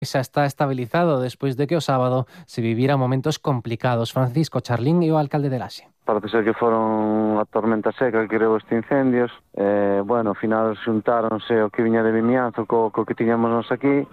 xa está estabilizado despois de que o sábado se viviran momentos complicados. Francisco Charlín é o alcalde de Laxe. Parece ser que foron a tormenta seca que creou estes incendios. Ao final xuntáronse o que viña de Vimianzo co que tiñamos nos aquí.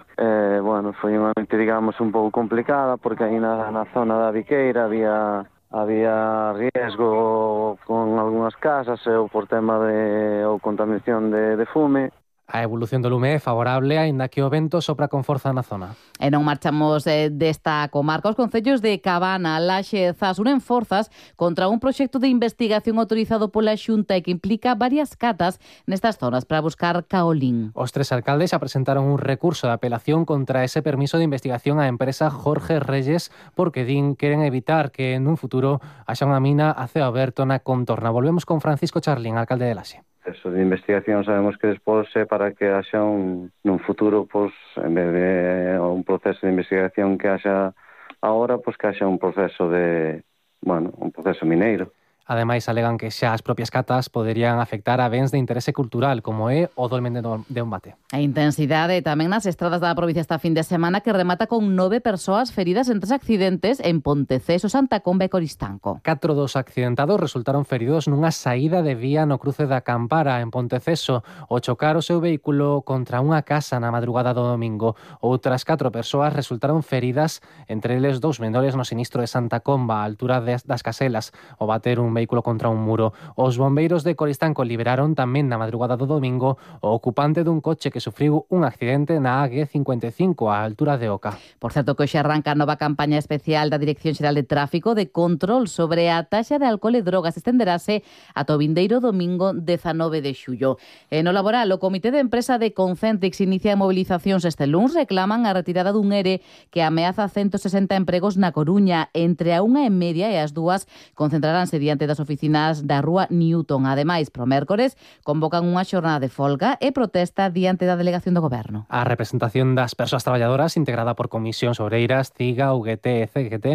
Foi unha noite, digamos, un pouco complicada porque aí na zona da Viqueira había riesgo con algunhas casas ou por tema de contaminación de fume. A evolución do lume é favorable, aínda que o vento sopra con forza na zona. E non marchamos desta comarca. Os concellos de Cabana, Laxe e Zas unen forzas contra un proxecto de investigación autorizado pola Xunta e que implica varias catas nestas zonas para buscar caolín. Os tres alcaldes xa presentaron un recurso de apelación contra ese permiso de investigación á empresa Jorge Reyes porque queren evitar que nun futuro haxa unha mina a ceo aberto na contorna. Volvemos con Francisco Charlín, alcalde de Laxe. Eso de investigación sabemos que despois é para que haxa nun futuro, en vez de un proceso de investigación que haxa agora, que haxa un proceso un proceso mineiro. Ademais, alegan que xa as propias catas poderían afectar a bens de interese cultural, como é o dolmen de Umbate. A intensidade tamén nas estradas da provincia esta fin de semana que remata con 9 persoas feridas en 3 accidentes en Ponteceso, Santa Comba e Coristanco. 4 dos accidentados resultaron feridos nunha saída de vía no cruce da Campara en Ponteceso ao chocar o seu vehículo contra unha casa na madrugada do domingo. Outras 4 persoas resultaron feridas, entre eles 2 menores no sinistro de Santa Comba, a altura das Caselas, ao bater un vehículo contra un muro. Os bombeiros de Coristanco liberaron tamén na madrugada do domingo o ocupante dun coche que sufriu un accidente na AG55 á altura de Oca. Por certo, que hoxe arranca a nova campaña especial da Dirección Xeral de Tráfico de control sobre a taxa de alcohol e drogas. Estenderase ata o vindeiro domingo 19 de xullo. No laboral, o Comité de Empresa de Concentrix inicia mobilizacións este luns. Reclaman a retirada dun ERE que ameaza 160 empregos na Coruña. Entre a 1:30 e as 2 concentraránse diante das oficinas da Rúa Newton. Ademais, pro mércores, convocan unha xornada de folga e protesta diante da delegación do Goberno. A representación das persoas traballadoras, integrada por comisións obreiras, CIGA, UGT e CGT,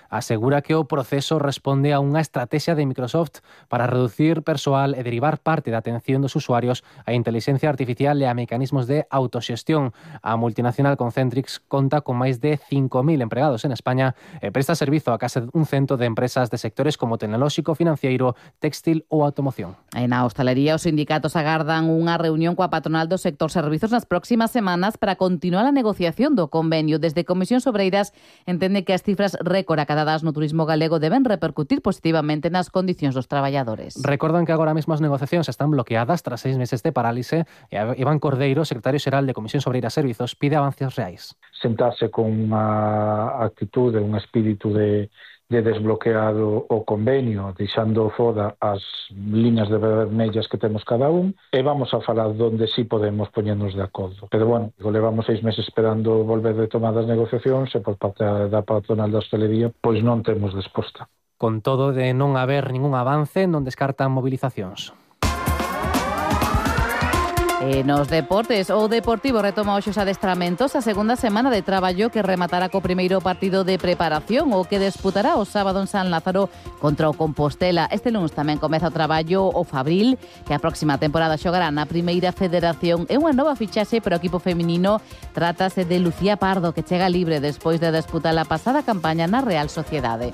asegura que o proceso responde a unha estrategia de Microsoft para reducir persoal e derivar parte da atención dos usuarios a inteligencia artificial e a mecanismos de autoxestión. A multinacional Concentrix conta con máis de 5.000 empregados en España e presta servizo a case un cento de empresas de sectores como tecnolóxico, financiero, textil ou automoción. E na hostalería, os sindicatos agardan unha reunión coa patronal do sector servizos nas próximas semanas para continuar a negociación do convenio. Desde Comisións Obreiras entende que as cifras récord acadadas no turismo galego deben repercutir positivamente nas condicións dos traballadores. Recordan que agora mesmo as negociacións están bloqueadas tras 6 meses de parálise e Iván Cordeiro, secretario xeral de Comisións Obreiras Servizos, pide avances reais. Sentarse con unha actitude, un espírito de desbloqueado o convenio, deixando foda as liñas de vermellas que temos cada un, e vamos a falar donde sí podemos poñernos de acordo. Pero levamos 6 meses esperando volver de tomar as negociacións e por parte da patronal da hostelería, pois non temos resposta. Con todo, de non haber ningún avance, non descartan movilizacións. Nos deportes, o Deportivo retoma hoxe os adestramentos a segunda semana de traballo que rematará co primeiro partido de preparación o que disputará o sábado en San Lázaro contra o Compostela. Este lunes tamén comeza o traballo o Fabril, que a próxima temporada xogará na primeira federación. É unha nova fichaxe para o equipo feminino. Trátase de Lucía Pardo, que chega libre despois de disputar a pasada campaña na Real Sociedade.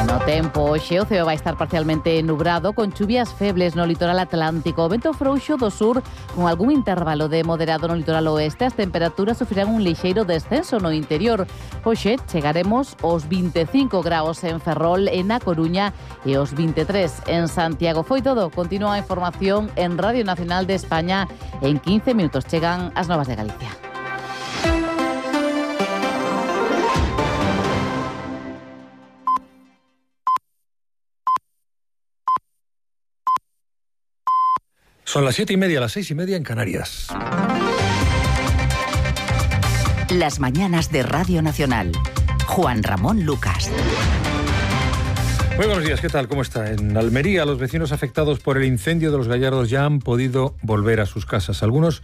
No tempo, hoxe o ceo vai estar parcialmente nubrado con chuvias febles no litoral atlántico. O vento frouxo do sur con algún intervalo de moderado no litoral oeste. As temperaturas sufrirán un lixeiro descenso no interior. Hoxe chegaremos aos 25 graus en Ferrol e na Coruña e aos 23 en Santiago. Foi todo. Continúa a información en Radio Nacional de España. En 15 minutos chegan as novas de Galicia. Son las 7:30, las 6:30 en Canarias. Las mañanas de Radio Nacional. Juan Ramón Lucas. Muy buenos días, ¿qué tal? ¿Cómo está? En Almería, los vecinos afectados por el incendio de Los Gallardos ya han podido volver a sus casas. Algunos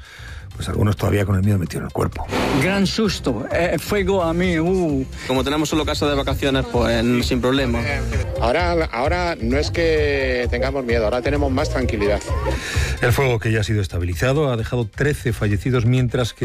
todavía con el miedo metido en el cuerpo. Gran susto, fuego a mí. Como tenemos solo casa de vacaciones, pues sin problema. Ahora no es que tengamos miedo, ahora tenemos más tranquilidad. El fuego, que ya ha sido estabilizado, ha dejado 13 fallecidos, mientras que